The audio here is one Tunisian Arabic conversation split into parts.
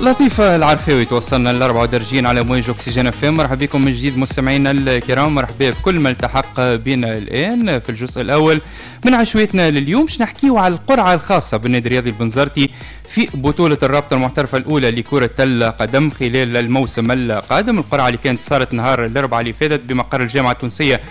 لطيفة العرفاوي توصلنا للأربعة ودرجين على موج أكسجين FM. مرحبا بكم من جديد مستمعينا الكرام، مرحبا بكل من التحق بنا الآن في الجزء الأول من عشويتنا لليوم. باش نحكيو على القرعة الخاصة بالنادي الرياضي البنزرتي في بطولة الرابطة المحترفة الأولى لكرة القدم خلال الموسم القادم. القرعة اللي كانت صارت نهار الأربعاء اللي فاتت بمقر الجامعة التونسية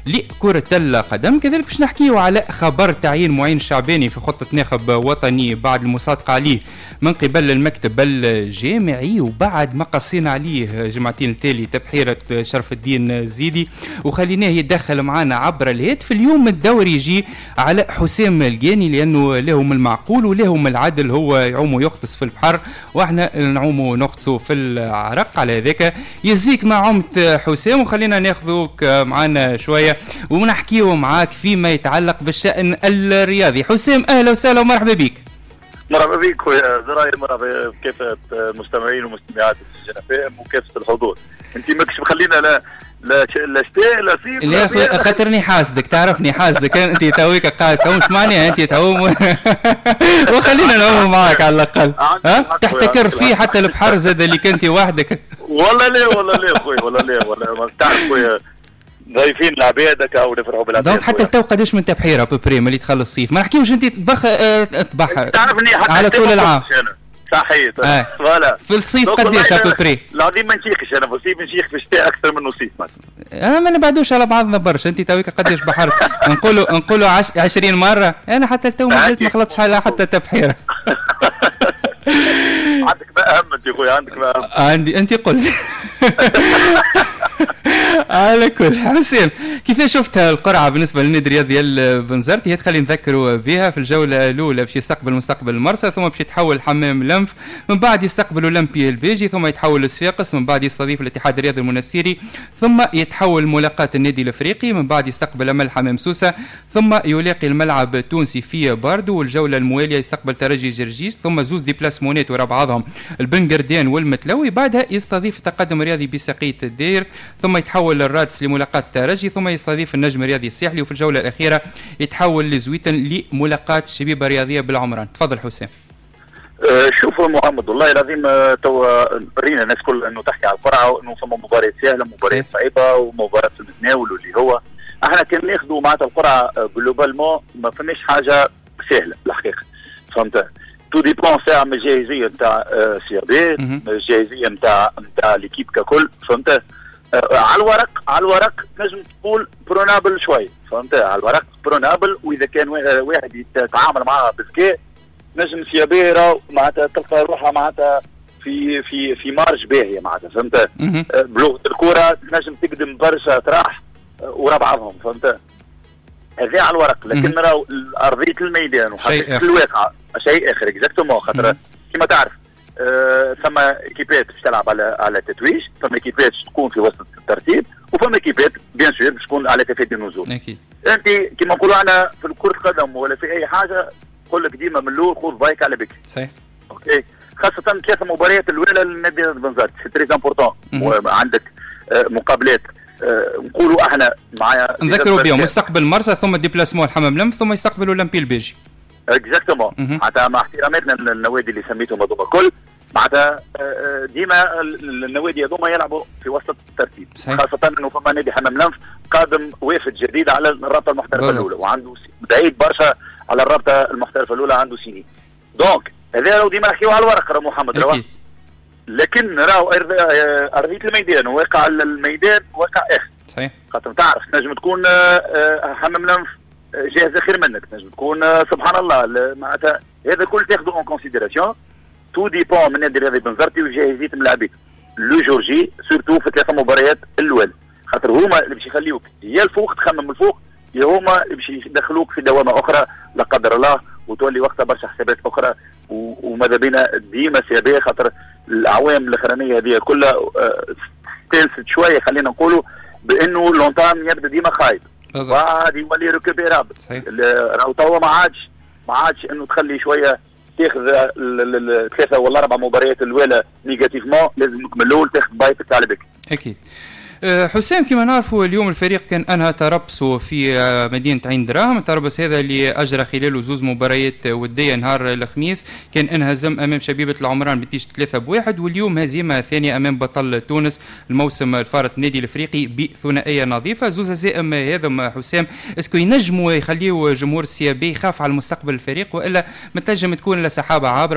لكرة القدم. كذلك باش نحكيو على خبر تعيين معين الشعباني في خطة ناخب وطني بعد المصادقة عليه من قبل المكتب الجامعي، وبعد ما قصينا عليه جمعتين التالي تبحيرة شرف الدين الزيدي وخليناه يتدخل معنا عبر الهاتف. اليوم الدور يجي على حسام الجاني لأنه له من المعقول وله من العدل، هو يعوم ويغطس في البحر واحنا نعوم ونغطسوا في العرق. على ذاك يزيك ما عمت حسام، وخلينا ناخذوك معنا شوية ونحكيه معاك فيما يتعلق بالشأن الرياضي. حسام أهلا وسهلا ومرحبا بك. مرحبا بك خويا زراير، مرحبا بكافة المستمعين ومستمعات الجنفاء وكافة الحضور. انت ماكش مخلينا لا لا لا شتاء لا صيف. لا خاطرني حاسدك، تعرفني حاسدك انت تويك قاعد تعوم، مش معناها انت تعوم وخلينا نعوم معاك على الاقل. ها تحتكر فيه حتى البحر زاد اللي كنت وحدك. والله لا والله لا خويا، والله لا والله تعرف خويا ضايفين العباد هكا ونفرحوا بالعباد. donc حتى لتو قداش من تبحيره à peu près ملي تخلص الصيف؟ ما نحكيوش انت تبحر تعرفني حتى على طول العام. صحيح voilà. في الصيف قداش à peu près؟ العظيم ما نشيخش انا في الصيف، نشيخ في الشتاء اكثر من الصيف. ما نبعدوش على بعضنا برشا. انت تويك قداش بحرت؟ نقولوا 20 مرة. انا حتى لتو ما زلت ما خلطتش على حتى تبحيره. عندك ما اهم انت خويا، عندك ما اهم. عندي انت قلت. على كل حسين، كيف شفت القرعة بالنسبة للنادي الرياضي البنزرتي؟ هي تخلي نذكروا بها في الجولة الاولى باش يستقبل مستقبل المرسى، ثم باش يتحول حمام لنف، من بعد يستقبل اولمبي البيجي، ثم يتحول لصفاقس، من بعد يستضيف الاتحاد الرياضي المنستيري، ثم يتحول ملاقاه النادي الافريقي، من بعد يستقبل امل حمام سوسة، ثم يلاقي الملعب التونسي في باردو، والجوله الموالية يستقبل ترجي جرجيس، ثم زوز déplacement ات ورا بعضهم البنقردان والمتلوي، بعدها يستضيف التقدم الرياضي بسقيه الدير، ثم يتحول للرادس لملاقاة الترجي، ثم يستضيف النجم الرياضي الساحلي، وفي الجولة الأخيرة يتحول لزويتن لملاقاة الشبيبة الرياضية بالعمران. تفضل حسام. شوفوا محمد، والله العظيم توا رينا الناس كل انه تحكي على القرعة وانه فما مباريات سهلة ومباريات صعيبة ومباريات في المتناول، واللي هو احنا كان ناخذوا معناتها القرعة globalement ما فماش حاجة سهلة الحقيقة، فهمت؟ tout dépend ساعة من الجاهزيه نتاع CRB، الجاهزيه نتاع l'équipe ككل، فهمت؟ على الورق، على الورق تنجم تقول prenable شوي، فهمت؟ على الورق prenable، واذا كان واحد يتعامل معها بذكاء نجم CAB راهو معناتها تلقى روحها معناتها في في في marge باهيه معناتها، فهمت؟ بلغه الكره تنجم تقدم برشا اطراح ورا بعضهم، فهمت؟ هذا على الورق، لكن راهو ارضية الميدان وحقيقة الواقع شيء اخر exactement. خاطر كما تعرف ثم équipe ات باش تلعب على التتويج، ثم équipe ات تكون في وسط الترتيب، وفما équipe ات bien sûr باش تكون على تفادي النزول. اكيد. انت كما نقولوا احنا في كرة القدم ولا في اي حاجة نقول لك ديما من الاول خذ بايك على بك. صحيح. OK، خاصة ثلاث مباريات الاولى للنادي البنزرتي c'est très important. عندك مقابلات نقولوا احنا مع نذكروا بهم مستقبل مرسى، ثم déplacement الحمام لم، ثم يستقبل اولمبي البيجي. exactement. معناتها مع احتراماتنا للنوادي اللي سميتهم هذوما الكل، معناتها ديما النوادي هذوما يلعبوا في وسط الترتيب. صحيح. خاصة انه فما نادي حمام لنف قادم وافد جديد على الرابطة المحترفة الأولى، وعنده بعيد برشا على الرابطة المحترفة الأولى، عنده سنين. donc هذا راهو ديما نحكيو على الورق راه محمد راهو، لكن راهو أرضية الميدان وواقع الميدان واقع آخر. صحيح. خاطر تعرف تنجم تكون حمام لنف جاهزة خير منك، تنجم تكون سبحان الله معناتها هذا كل تاخذه en considération. tout dépend من نادي الرياضي بنزرتي وجاهزيه ملاعبيته le jour J، surtout في ثلاثة مباريات الاول، خاطر هما اللي باش يخليوك يا الفوق تخمم الفوق، يا هما اللي باش يدخلوك في دوامه اخرى لا قدر الله، وتولي وقتها برشا حسابات اخرى. وماذا بينا ديما CAB، خاطر الاعوام الاخرانية هذه كلها تنسد شوية، خلينا نقولوا بانه l'entame يبدا ديما خايب بعد يولي récupérable. راهو توا ما عادش انه تخلي شوية تاخذ الثلاثة ولا اربع مباريات الاولى négativement، لازمك من الاول تاخذ بايتك على بك. اكيد. حسام، كما نعرفوا اليوم الفريق كان انهى تربصه في مدينة عين دراهم، التربص هذا اللي اجرى خلاله زوز مباريات وديه. نهار الخميس كان انهزم امام شبيبة العمران بنتيجة 3-1، واليوم هزيمة ثانية امام بطل تونس الموسم الفارط النادي الافريقي بثنائيه نظيفه. زوز هزائم هذم حسام، est-ce que ينجموا يخليوا جمهور ال CAB يخاف على المستقبل الفريق، والا ما تنجم تكون لسحابه عابرة؟